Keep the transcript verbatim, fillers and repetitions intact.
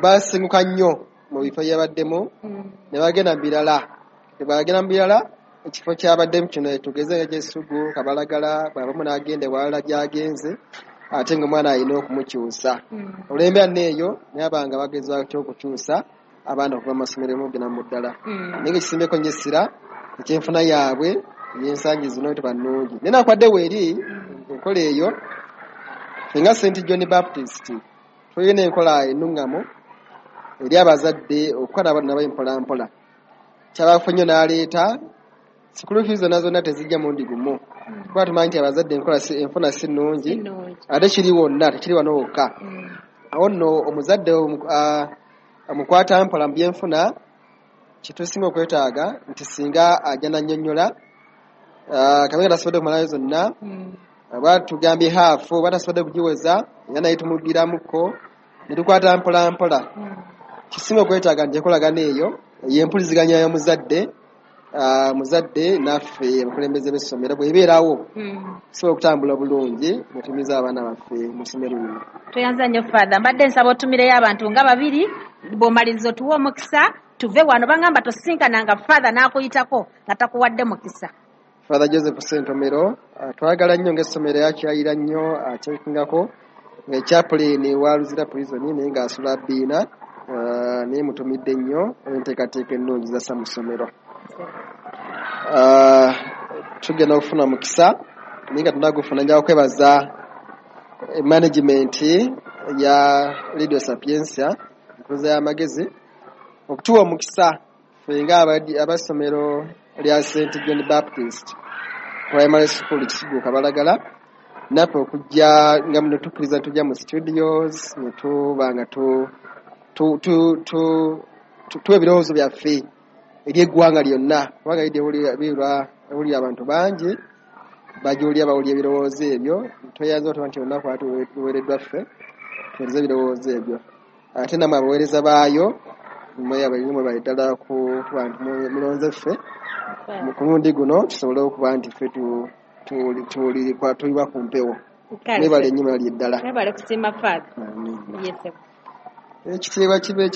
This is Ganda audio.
Basenguka nnyo mu bifo byebaddemu ne bagenda mu birala. Tebagenda mu birala, ekifo kyabaddemu kino tugeze nga Kisugu, Kabalagala, bw'abamu n'agenda ewalala gy'agenze, ate ng'omwana alina okumukyusa. Olw'embeera nno eyo, naye abanga bagezaako okukyusa abaana okuva mu masomero okugenda mu ddala. Naye ng'ekisimbeko nnyo essira ekyenfuna yaabwe ey'ensangi zino teba nnungi. Naye nakwadde weeri enkola eyo, ffe nga Saint John Baptist tulina enkola ennuŋŋamu eri abazadde okukola nabo mpola mpola. Kyabafu nnyo n'aleeta school fees zonna zonna tezijja mulundi gumu, kuba tumanyi nti abazadde enkola enfuna si nnungi, ate kiri wonna, tekiri wano wokka. Awo nno omuzadde omukwata mpola mu byenfuna, kyetusinga okwetaaga nti singa ajja nannyonnyola kabe nga tasobodde kumalayo zonna, oba tugambye half, oba tasobodde kugiweza, era naye tumugiramuko ne tukwata mpola mpola. Kisinga okwetaaga nti enkolagana eyo ey'empuliziganya y'omuzadde, muzadde naffe abakulembeze b'essomero bw'ebeerawo, tusobola okutambula bulungi ne tumiza abaana baffe mu ssomero lino. Tweyanza nnyo, Father. Mbadde nsaba otumireyo abantu nga babiri, bw'omaliriza otuwe omukisa tuve wano. Bangamba tosinkananga Father n'akuyitako nga takuwadde mukisa. Father Joseph Sentomero, twagala nnyo ng'essomero yakyayira nnyo, akyekingako nga chaplain wa Luzira Prison, naye ng'asula Bbiina, naye mutumidde nnyo enteekateeka ennungi zassa mu ssomero. Tugenda okufuna mukisa, naye nga tunagufuna nja kwebaza management ya Radio Sapientia, enkuza y'amagezi, okutuwa omukisa ffe nga ab'essomero lya Saint John Baptist Primary School, Kisugu, Kabalagala, naffe okujja nga muno tukkiriza tujja mu studios ne tuba nga tuwa ebirowoozo byaffe eri eggwanga lyonna, kubanga ewulira abantu bangi bagiwulira, bawulira ebirowoozo ebyo. Tweyanza otuba nti olunaku luweereddwa ffe tuweereze ebirowoozo ebyo, ate nammwe abaweereza baayo mwebale ddala kuba nti mulonze ffe ku mulundi guno tusobole okuba nti ffe tuliwa ku mpewo. Mwebale nnyo, mwebale ddala. Mwebale kusiima, Father. Ekitiibwa kibe.